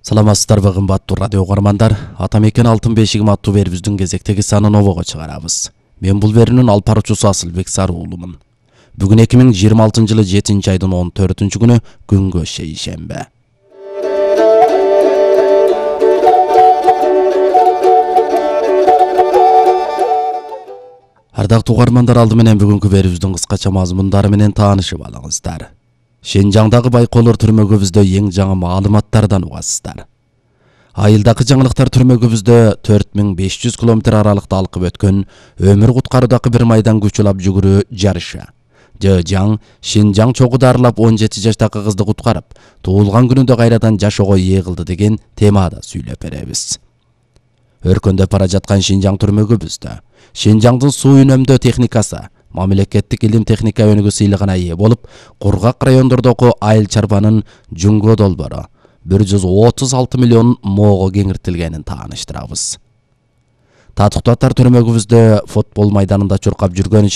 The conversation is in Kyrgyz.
Саламатсыздарбы кымбаттуу радио угармандар. Ата мекен алтын бешигим аттуу берүүбүздүн кезектеги санын обого чыгарабыз. Мен бул берүүнүн алып баруучусу Асылбек Саруулумун. Бүгүн 2026-жылы 7-айдын 14-күнү күнгө шейшембе. Ардактуу угармандар, алды менен бүгүнкү берүүбүздүн кыскача мазмундары менен таанышып алыңыздар. Шенжаңдагы Байколор түрмөгүбүздө эң жаңы маалыматтардан угасыздар. Айылдагы жаңылыктар түрмөгүбүздө 4500 километр аралыкта алкып өткөн өмүр куткаруудагы бир майдан күч улап жүгүрүү жарышы. Жыжаң Шенжаң чогуу дарылап 17 жаштагы кызды куткарып, туулган күнүндө кайрадан жашоого ээ кылды деген темада сүйлөп беребиз. Өркөндөп бара жаткан Шенжаң түрмөгүбүздө Шенжаңдын суу үнөмдөө техникасы мамлекеттик илим техника өнүгүү сыйлыгына ээ болуп, кургак райондордогу айыл чарбанын жүнгө долбоору 136 миллион моого кеңиртилгенин тааныштырабыз. Татыктуу аттар түрмөгүбүздө футбол майданында чуркап жүргөн